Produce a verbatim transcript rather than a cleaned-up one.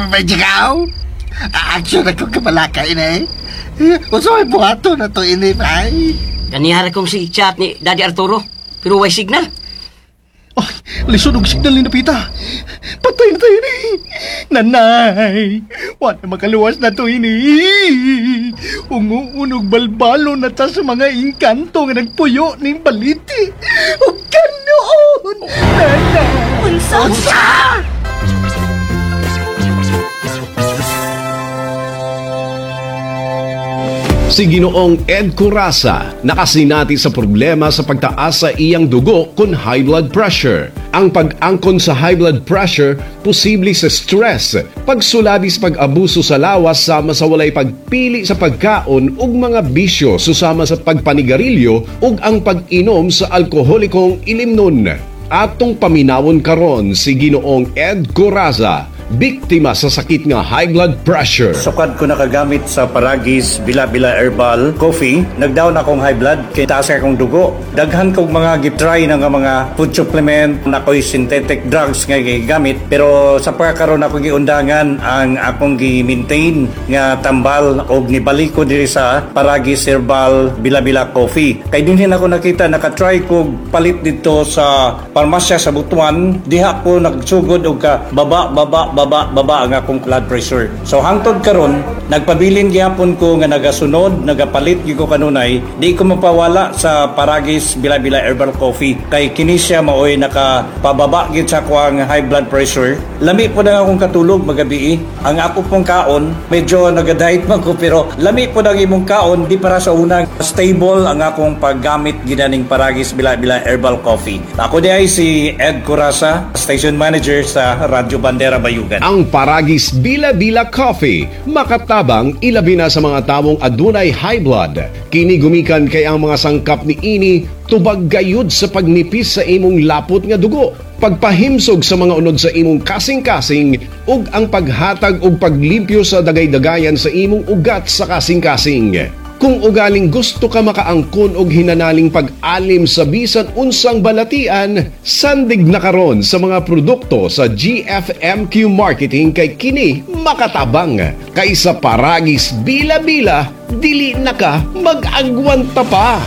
May jigaw? Action ako kabalaka, ini. Unsa may buhaton na to, ini, bay? Ganihara kong si chat ni Daddy Arturo, pero way signal. Ay, lisod og signal ni Napita. Patay na tayo ni. Nanay, wala makaluwas na to ini. Unguunog balbalo na ta sa mga engkanto nga nagpuyo ning baliti. Ug kanoon! Nanay! Unsa? Unsa? Si Ginoong Ed Curasa nakasinati sa problema sa pagtaas sa iyang dugo kon high blood pressure. Ang pag-angkon sa high blood pressure posible sa stress, pagsulabi sa pag-abuso sa lawas sama sa walay pagpili sa pagkaon ug mga bisyo susama sa pagpanigarilyo ug ang pag-inom sa alkoholikong ilimnon. Atong paminawon karon si Ginoong Ed Coraza, biktima sa sakit nga high blood pressure. Sukad ko nakagamit sa Paragis Bila-Bila Herbal Coffee, nagdown akong high blood kay taas akong dugo. Daghan kog mga gitry na nga mga food supplement, na ko'y synthetic drugs nga gigamit, pero sa pagkakaroon ako giundangan ang akong gi-maintain nga tambal og nibalik ko diri sa Paragis Herbal Bila-Bila Coffee. Kay dinhin ako nakita, nakatry ko palit dito sa parmasya sa Butuan, diha ko nagsugod og ka baba baba baba baba ang akong blood pressure. So hangtod karon nagpabilin gihapon ko nga nagasunod, nagapalit gyud ko kanunay, di ko mapawala sa Paragis Bila-Bila Herbal Coffee kay kini siya maoy nakapababa gyud sa akong high blood pressure. Lami po na akong katulog magabi. Ang ako pong kaon, medyo nagadiet man ko pero lami po ang imong kaon di para sa unang stable ang akong paggamit ginaning Paragis Bila-Bila Herbal Coffee. Ako di ay si Ed Curasa, station manager sa Radyo Bandera Bayugan. Ang Paragis Bila Bila Coffee, makatabang ilabi na sa mga tawong adunay high blood. Kini gumikan kay ang mga sangkap ni ini tubag gayud sa pagnipis sa imong lapot nga dugo, pagpahimsog sa mga unod sa imong kasing-kasing ug ang paghatag og paglimpyo sa dagay-dagayan sa imong ugat sa kasing-kasing. Kung ugaling gusto ka makaangkon og hinanaling pag-alim sa bisan unsang balatian, sandig na karon sa mga produkto sa G F M Q Marketing kay kini makatabang. Kaysa Paragis Bila-Bila, dili na ka mag-agwanta pa.